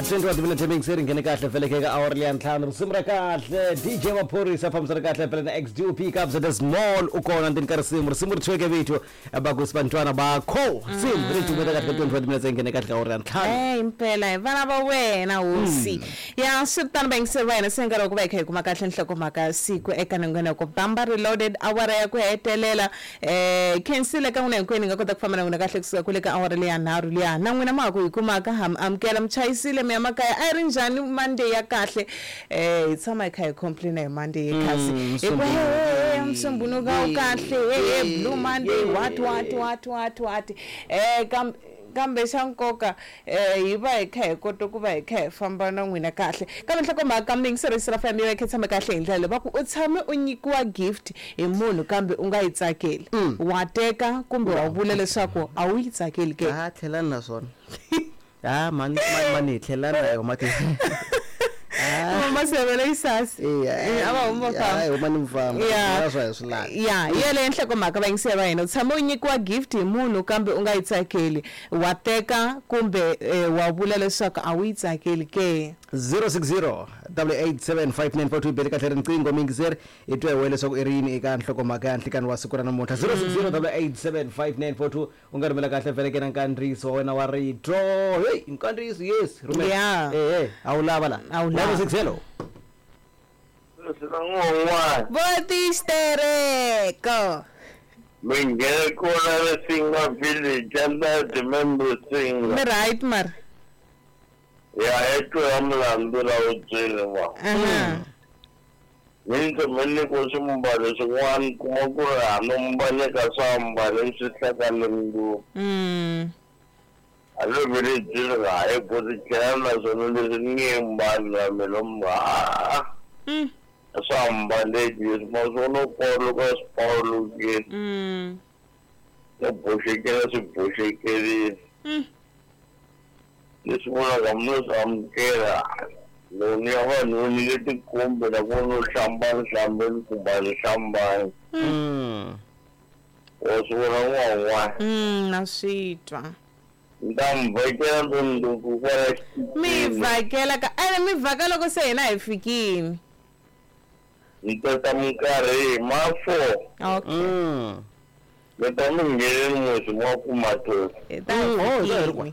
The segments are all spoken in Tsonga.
21 timinete mixeri nghene kahle vhele ka awara leya ntlhanu risimu ra kahle DJ Maphorisa fambisa ri kahle vhele na XDOP Kabza the Small u kona ndzeni ka risimu risimu ri thyiweke vito bakusi bantwana bakho risimu ri tumeta kahle ka 21 timinete nghene kahle ka awara ya ntlhanu. Eh, impela hi vana va wena hosi. Ya swi ri tano vayingiseri va hina se nkarhi wa ku va hi kha hi kuma kahle nhlokomhaka ya siku eka nongonoko Bamba Reloaded awara ya ku hetelela. Khensile ka n'wina hinkwenu hi nga kota ku famba na n'wina kahle kusuka kwale ka awara leya nharhu liya. Na n'wina ma ha ku hi kumaka ha mi amukela mi chayisile mi ya makaya a yi ri njhani Monday ya kahle. Hi tshama hi kha hi complain hi Monday ye khazi. Hi ku he he he Musumbhunuko a wu kahle he he Blue Monday what what what what what. Kambe kambe xa nkoka hi va hi kha hi kota ku va hi kha hi famba na n'wina kahle. Kambe nhlokomhaka muyingiseri wa FM yi va yi kha yi tshame kahle hi ndlela leyi va ku u tshame u nyikiwa gift hi munhu kambe u nga yi tsakeli. Wa teka kumbe wa vula leswaku a wu yi tsakeli ke? Ha tlhelani na swona. Ha mhani mhani hi tlhelani na yona mati. Mama Sevela Isasi. Eya. A va huma va famba. Hayi huma ni mfamba. Ya. Swa hi swi lavi. Ya, hi yeleyo nhlokomhaka vayingiseri va hina. U tshame u nyikiwa gift hi munhu kambe u nga yi tsakeli. Wa teka kumbe wa vula leswaku a wu yi tsakeli ke? 060 8875942 bele kahle riqingho muyingiseri hi twa hi wena leswaku i ri yini eka nhlokomhaka ya nhlikani wa siku ra namuntlha 060 8875942 u nga rhumela kahle vhele ke na nkandziyiso wa wena wa rito hey nkandziyiso yes rhumela Yeah. eh eh a wu lava la A wu lava. 106 hello. N'wan'wana Vo tistereko. mi nghene kona Risinga village under the member Singa Mi right mara. ya etwa mulandu la wu byele wa Aha. mi ndzi mi nyikiwe swimbalo swin'wana kuma ku ri hano mbaleka swa mbale swi hlakale ngopfu. A lo vele byele hayi ku ti tlhela naswona leswi ni nge mbali na mina ha swa mbaleki leswi ma swona paluka swi palukile no boxekela swi boxekerile. Leswi vulaka mi swi amukela loko ni ya vanhu ni nge tikombi na ku no hlambani hlambeni kumbe a ni hlambani. Wa swi vona n'wan'wana. Na swi twa. Ni ta mi vhakela ndzi kwala Mi vhakela ka ene mi vhaka loko se hina hi fikini. Ni tata minkarhi hi ma 4. Okay. Mi ta mi ngheneni musi ma kuma tosi. Hi ta hi Oh, hi ta hi ri fikini.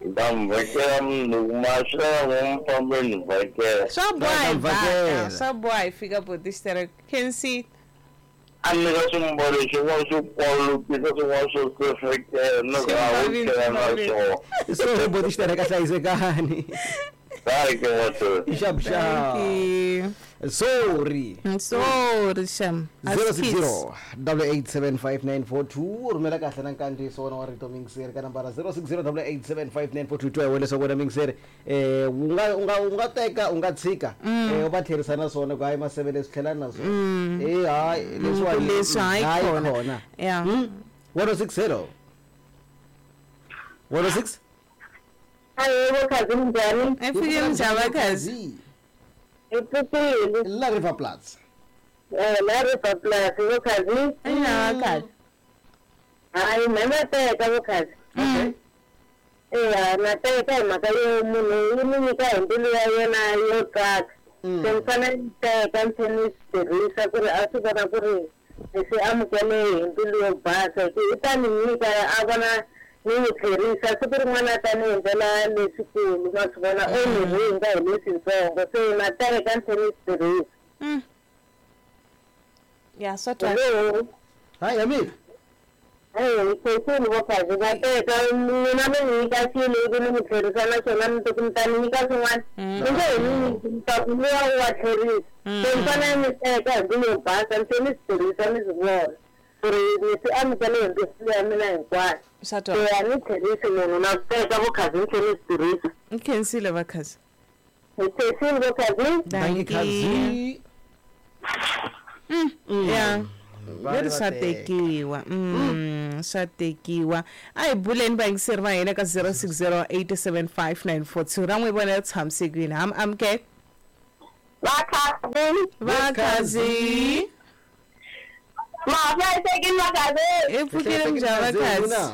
Ni ta mi vhakela mundzuku ma swi lava ngo mi fambe ni vhakela. Swa boha hi Ta vhakela. vhaka, swa boha hi fika boti Khensi. A nyika swimbalo swin'wana swo kwalukisa swin'wana swo sefekela na ku a wu tlhela na swona. So boti xitereka hlayisekani. Hayi ke matosi. Xap xap. Thank you. Sorry. Sorry sham. 060 8875942 rhumela kahle na nkandziyiso wona wa rito mixeri ka nambara 060 8875942 twa hi wena leswaku wena mixeri u nga u nga u nga teka u nga tshika u va tlherisa na swona ku hayi maseve leswi tlhelani na swona eh hayi leswiwani Leswi hayi hayi khona. khona. Yeah. 106 hello. 106 Hayi bokhazi njhani? Hi fikile njhani vakhazi? Hi pfukile. La River Platz. La River Plus bokhazi. Ina vakhazi. Hayi mina na teka bokhazi. Eya na teka hi mhaka yo munhu yi ni nyika hi mbilu ya yena yo tsaka. Se ni fanele ni teka ni tlhela ni swi tirhisa ku ri a swi vona ku ri ni swi amukele hi mbilu yo basa hi ku i ta ni nyika a vona ni n'wi tlherisa siku rin'wana a ta ni endlela leswikulu ma swi vona o ni ringa hi leswitsongo se na teka ni tlhela ni swi tirhisa. Ya swa twa. Hello. Hayi Hamid. Hey, khensini bokhazi na teka mina mi ni nyika xilo ivi ni mi tlherisa naswona mi mi ta ni nyika swin'wana mi nge he ni nyiki mi ta ku luwa u wa tlherisa se ni fanele ni teka hi mbilu yo basa ni tlhela ni swi tirhisa ni swi vona ku ri ni swi amukele hi mbilu ya mina hinkwayo. Swa twa. Se a ni tlherisi munhu na teka bokhazi ni tlhela ni swi tirhisa. Ni khensile vakhazi. Hi khensini bokhazi. Dankie Khazi. Ya. Va Leri va swa teka. tekiwa. Swa tekiwa. A hi buleni vayingiseri va hina ka 06087594 ra n'wi vona ri tshamisekile. Ha mi amukela. Vakhazi. Vakhazi. Ma hlayisekile vakhazi. Hi pfukile njhani vakhazi?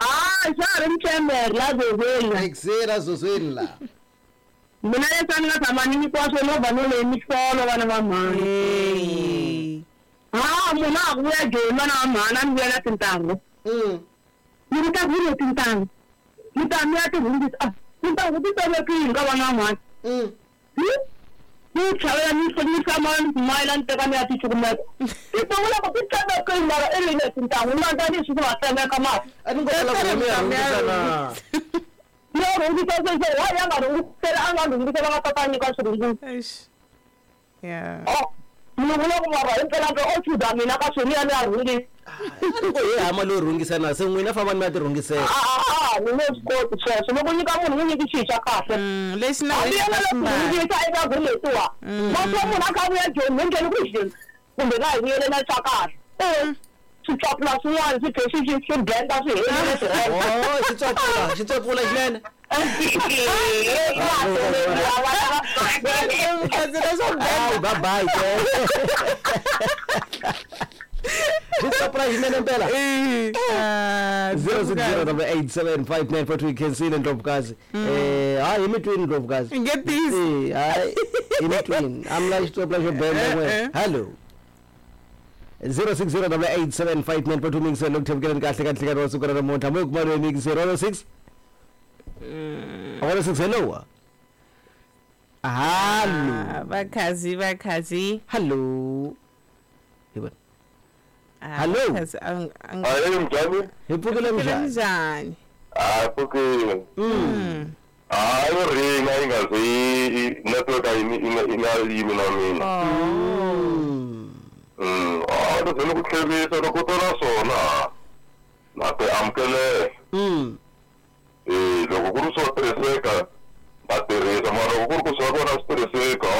Ah, xa ha ri mchemere la zozweni. Exera zozweni la. Mina leswi a ni nga tshama ni nyikiwa swo movha no leyi mihlolo vana va mhani. Ha munhu a ku vuya joni vana va mhani a ni vuya na tintangu. Ni ku ta ku le tintangu. Ni ta mi ya ti rhungisa. Ah, tintangu ti tsemekile ka vana va mhani. Ni chavela ni ni tshama ni mayila ni teka ni ya ti cukumeta. Tintangu loko ti tsemekile mara i ri le tintangu ni landza leswi swi va tsemeka mara. A ni ngo la ku mi ya rhungisa na. Yo rhungisa se wa ya nga rhungisela a nga rhungisela nga tata nyika swirhungiso. Eish. Yeah. Oh, ni vula ku mara himpela o chuza mina ka swilo ya ni ya rhungisa. A ni ngo hi hama loyi rhungisa na se n'wina fambani mi ya ti rhungisela. A ni nge swi koti sweswo loko nyika munhu n'wi nyiki xilo xa kahle. Lexi na Hambi wena yena ka loko swi rhungisa eka ku letiwa. Maswa munhu a kha vuya joni ni ndleni ku xini kumbe ka hi vuyele na xa kahle. Swi tswapula swin'wana swi tlhe swi blenda swi helile swi rhenda. Oh, xi tswapula xinene. Hayi, bye bye. Xi tswapula xinene mpela. 0608875942 khensile Ndlovukazi. Hayi hi mi twini Ndlovukazi. Nge tiyisi. Hayi hi mi twini. A mi la xitswapula xo benda n'we. Hello. 0608875942 mingiselo loko thevukeleni kahle ka nhlekani wa siku ra namuntlha mo kuma loyi mingiselo 06 06 hello. Hallo. Vakhazi vakhazi. Hallo. Hi vona. Hallo. Hayi mjani? Hi pfukile mjani? Njhani? Ah, pfukile. Hayi ringa yi nga zi network a yi nga yimi na mina. Ah, ni ku tlherisa loko to na swona na ti amukelela. Loko ku ri swo tirhiseka na tirhisa mara loko ku ri ku swa kona swi tirhiseka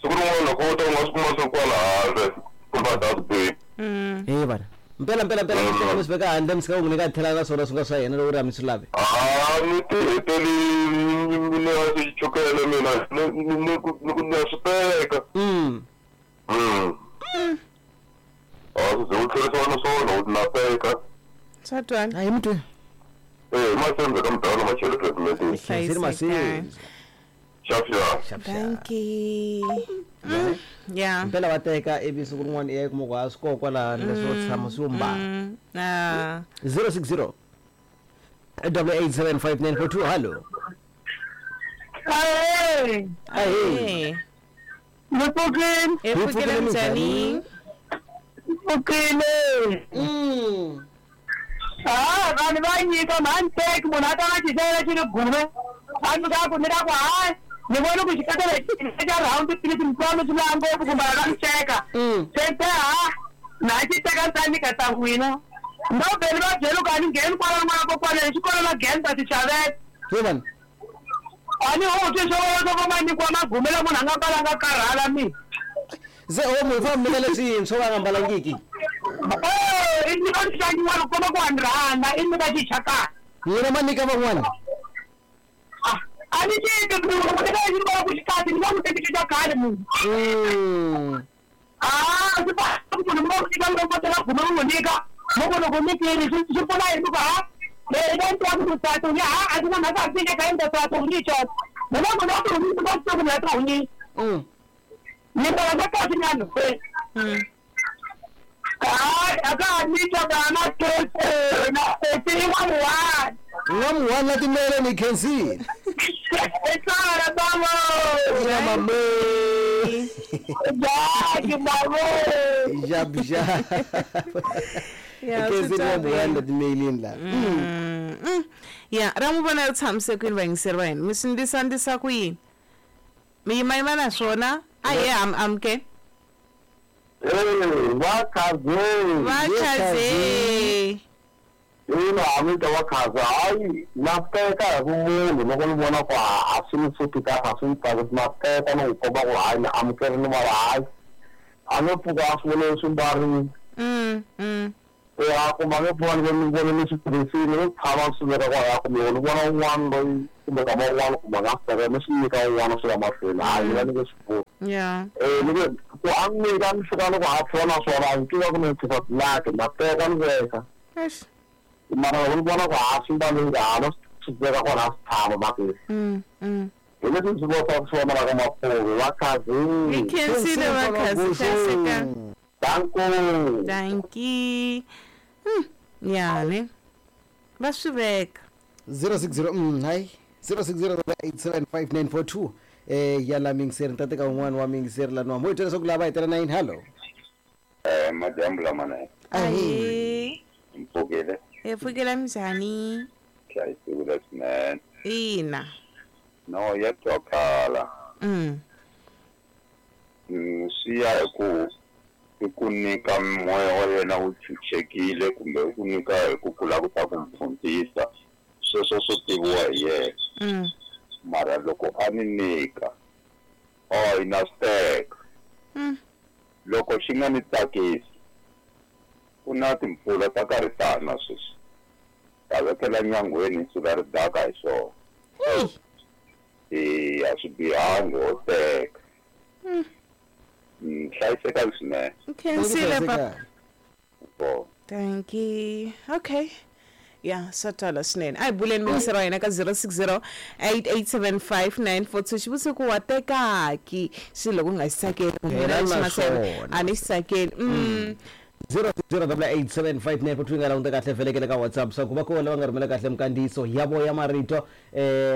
siku rin'wana loko u ta u nga swi kuma swi kwala handle kumbe dustbin. Hey vana. Mpela mpela mpela mi swi veka handle mi sika u n'wi nyika tlhela na swona swi nga swa yena loko ri a mi swi lavi. Ah, ni ti heteli ni ya swi chukele mina ni ku ni ya swi teka. Ah, swi u tlherisiwa na swona u na teka. Swa twala. Hayi mutwe. Masenze ka mudala machele treatment. Khensile masiza. Xap xap. Thank you. Yeah. Mpela va teka ivi siku rin'wana i ya kuma ku a swi kona kwalano leswo tshama swi yo mbala. 060 8875942 hallo. Ahee. Ahee. Ni pfukile. Hi pfukile njhani? Pfukile. Ah, vanhu va nyika mhani teki munhu a ta nga xixela xi ri gume. A ni ka ku ni ka ku hayi ni vone ku xikatele xa round philip mkwami swi lava ngopfu kumbe a nga mi teka. Se te ha na xi teka ni ta nyika ta n'wina. No vhele va byela ku a ni ngheni kwala n'wana kokwana xikolo la ngheni ta ti xavela. Hi vana. A ni hutwi swo swo va nyikiwa magume la munhu a nga mbalanga karhala mina. Se o munhu famba mi leswintshwa va nga mbalangiki. I nyika xixangiwa loko komba ku a ni rhandza i nyika xichakana. N'wina ma nyika van'wana. A ni nyiki munhu ku teka lexi ni vona ku xi kahle ni nga n'wi teki xi xa khale munhu. Ah, swi fana ku munhu mi nga n'wi nyika loko teka gume mi n'wi nyika loko loko mi tiri swi pfuna yini ku ha leyi va twa ku ta ni ha a ndzi na mhaka ku nyika yini ta ku ni xona. Mina munhu wa ku ni va ku ni ta ni. Ni mbala swa kahle nyana. Hayi a ka ha nyika vana na n'wamuhani. N'wamuhani na timele ni khensile. Tsara bavo. Ina mame. Jaki bavo. Jab jab. Yeah, Khensile n'wamuhani na timelini la. Ya, ra n'wi vona ri tshamise kwini vayingiseri va hina mi swi ndisa ku yini? Mi yimayima na swona a hi amuke. Vakhaze. Vakhaze. Ina hamita vakhaze hayi na teka hi vumunhu loko ni vona ku a swi ni suki kahle a swi ni tsakisi na teka ni n'wi komba ku hayi ni amukerile mara hayi a no pfuka a swi vone swi mbarile. Ya kumbe a nge pfuka ni vone ni swi tirhisile ni tshama swi veka kwalaya kumbe ni vona un'wana loyi kumbe kama un'wana kumbe a nga swi teka ni swi nyika un'wana swi ya mahlweni hayi ni va ni nge swi pfuni. Yeah. Ni ku a ni nyika ni fika loko a pfuna na swona a ni tiva ku ni tshika laki na teka ni veka. Eish. Mara loko ni vona ku ha swi mbali ha no swi veka kwala swi tshama makesi. Hi leswi ndzi vona swi vonaka mapfulu va khazi. Hi khensile va khazi hlayiseka. Danko. Dankie. Ya ne. Va swi veka. 060 hayi 0608875942 ya la mingiseri ni ta teka un'wana wa mingiseri laniwa mo hi twa leswaku lava hi tela na yini hallo. Madyambu lamanene. Ahee. Mpfukile. Hi pfukile minjhani? Hlayisekile swinene. Ina. No ya twakala. Swi ya hi ku i ku nyika moya wa yena wu chuchekile kumbe i ku nyika hi ku kula ku ta ku mpfhuntisa sweswo swo tiviwa hi yena. Mara loko a ni nyika yi na swi teka. Loko xi nga ni tsakisi ku na timpfula ta karhi tana sweswi ta vekela nyangweni sula ri daka hi swona. A swi bihangi ho teka. Hlayiseka swinene. Khensile papa. Thank you. Okay. Ya swa twala swinene. A hi buleni mingisero wa hina ka 0608875942 xivutiso ku wa tekaki xilo loko u nga xi tsakeli Hela na swona. a ni xi tsakeli. 0608875942 yi nga languta kahle vhelekele ka WhatsApp swa ku va kona lava nga rhumela kahle minkandziyiso ya vo ya marito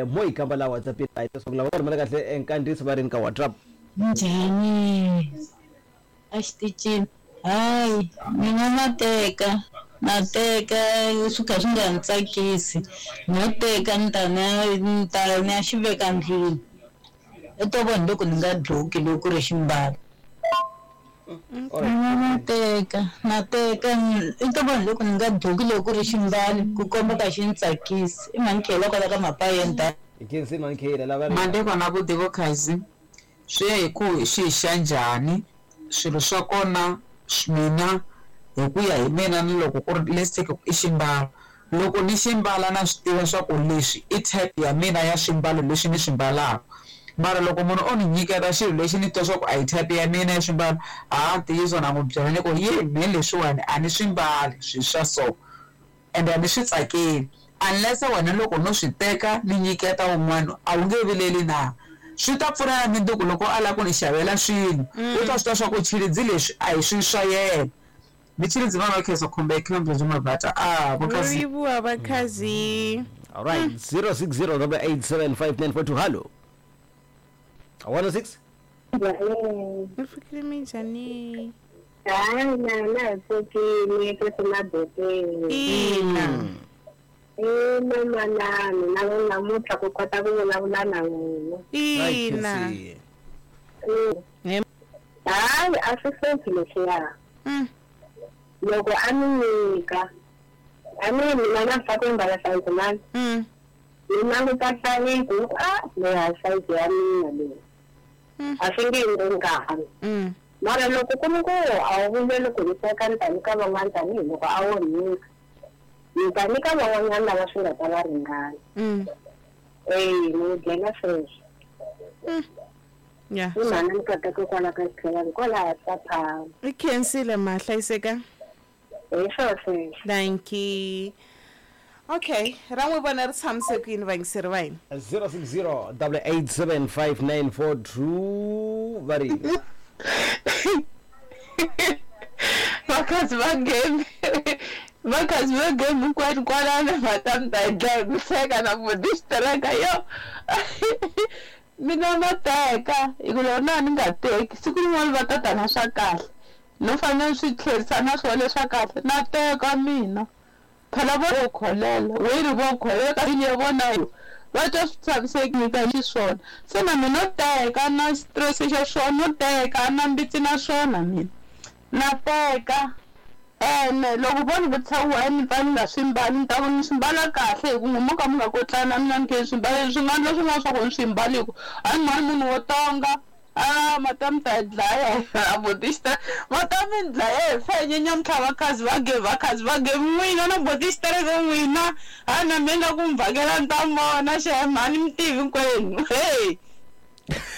mo yi kamba laha WhatsApp leswaku lava nga rhumela kahle nkandziyiso va ri ni ka WhatsApp. Njhani? A xitichini. Hayi, mina na teka. Na teka swi kha swi nga ni tsakisi. No teka ni ta ni ta ni ya xi veka ndlwini. I to vona loko ni nga dloki loko ku ri ximbalo. Mina na teka, na teka i to vona loko ni nga dloki loko ku ri ximbalo ku komba ka xi ni tsakisi. I mhani Khela kwala ka Mapayeni. Hi khensile mhani Khela lava ri. Madekwana vutivo khazi swi ya hi ku xi hi xa njhani swilo swa kona mina hi ku ya hi mina ni loko ku ri let's take i ximbalo loko ni ximbala na swi tiva swa ku leswi i type ya mina ya swimbalo leswi ni swi mbalaka mara loko munhu o ni nyiketa xilo lexi ni twa swa ku a hi type ya mina ya swimbalo ha ntiyiso na n'wi byela ni ku ye me leswiwani a ni swi mbali swilo swa so ende a ni swi tsakeli unless wena loko no swi teka ni nyiketa wun'wana a wu nge vileli na swi ta pfuna na minduku loko a lava ku ni xavela swilo u ta swi twa swa ku chilidzi leswi a hi swilo swa yena ni chilidzi va va khensa khombe khombe byi mabata a Ri livhuwa vakhazi. All right 0608875942 hallo. 106 Mi fikile minjhani? Hayi na na hi pfukile etimabokweni. Ina. Ina manana na namuntlha ku kota ku vulavula na n'wina. Ina. Hayi a swi hluphi leswiya. Loko a ni nyika a ni mina na fa ku mbala sayizi mani. Ni languta sayizi ni ku a leyi a sayizi ya mina leyi. A swi nge endli nkarhi. Mara loko ku ri ku a wu vuleli ku ni teka ni ta nyika van'wana tanihiloko a wo nyika ni ta nyika van'wanyana lava swi nga ta va ringana. Ni byela sweswo. Ya. I mhani ni kotaka kwala ka xitlhelani kwalaha Saphama. I khensile ma hlayiseka. Hi swo sweswo. Thank you. Okay, ra n'wi vona ri tshamise ku yini vayingiseri va hina? 0608875942 va ri Vakhazi va game vakhazi va game hinkwenu kwalano va ta mi ta hi dlaya hi ku hleka na ku distraka yo. Mina na teka hi ku loko na ni nga teki siku rin'wana va ta ta na swa kahle no fanele swi tlherisa na swona leswa kahle na teka mina phela vo kholela weri vo kholela ka ya vona yo va twa swi tshamisekile ka xiswona se na mina no teka na stress xa swona no teka na mbitsi na swona mina na teka ene loko vo ni vutisa why ni pfa ni nga swi mbali ni ta ku ni swi mbala kahle hi ku n'wi mo ka mi nga kotlani na mina ni khe ni swi mbala swi nga endla swin'wana swa ku ni swi mbaliku a ni mhani munhu wo tonga a mata mi ta hi dlaya a botista mata mi ni dlaya hi fenye nyamuntlha vakhazi va ge vakhazi va ge n'wina na botista reke n'wina a na mina ku mi vhakela ni ta mi vona xem a ni mi tivi hinkwenu hey.